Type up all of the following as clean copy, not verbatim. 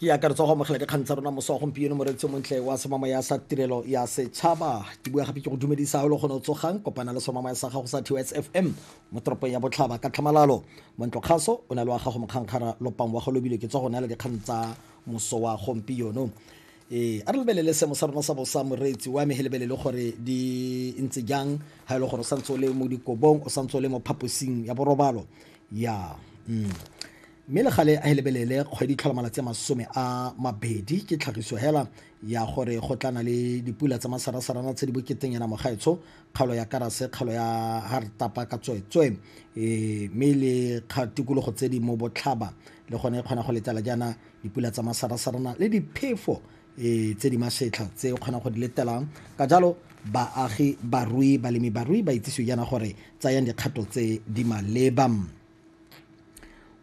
Ke akaretsa go amogela dikgang tsa rona moso wa gompieno, moreetsi montle wa semamoya sa Tirelo ya Setšhaba. Ke bua gape ke go dumedisa o le gone o tsogang kopana le semamoya sa gago sa TOS FM mo toropong ya Botlhaba ka tlhamalalo. Montlo kgaso o na le wa gago mokgankgara lopang wa go lobile ke tswa go neela dikgang tsa moso wa gompieno. Ee, a re lebelele seemo sa rona sa bosa, moreetsi wa me, he lebelele gore di ntse jang ga e le gore o santse o le mo dikobong, o santse o le mo phaposing ya borobalo ya Mme le gale a e lebelele kgwedi tlhola malatsi a 20 ke tlhagiso hela ya gore go tla na le dipula tsa masarasarana tse di boketeng yana mogaetsho, kgaolo ya Karase, kgaolo ya Hartapa ka tsweetswe, mme le tikologo tse di mo botlhaba le gone e kgona go letela jaana dipula tsa masarasarana le diphefo tse di masetlha tse o kgonang go di letelang. Ka jalo baagi, barui, balemi barui ba itsisiwe jaana gore tsayang dikgato tse di maleba.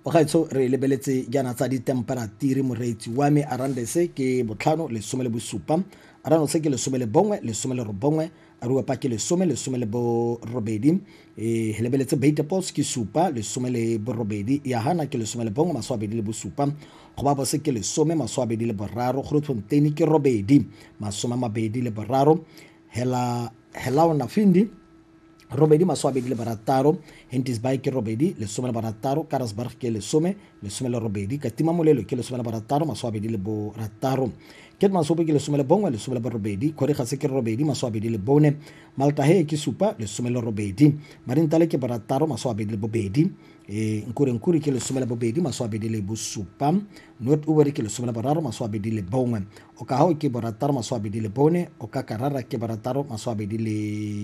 Bagaetsho, re lebeletse jaana tsa ditemperatiri, moreetsi wa me. Arandese ke 5, 17. Aranose ke 11, 19. Aruapa ke 10, 18. Lebeletse Beitepos ke 7, 18. Yahana ke 11, 27. Gobabose ke 10, 23. Grootfontein ke 8, 23. Hela Helaona Findi 8, 26. Henties Bay ke 8, 16. Karasburg ke 10, 18. Katima Molelo ke 16, 26. Keetmanshoop ke 11, 18. Khorixas ke 8, 24. Maltahe ke 7, 18. Marintale ke 6, 22. Nkurenkuru ke 12, 27. Noord-Oewer ke 13, 21. Okahao ke 6, 24. Okakarara ke 6, 20.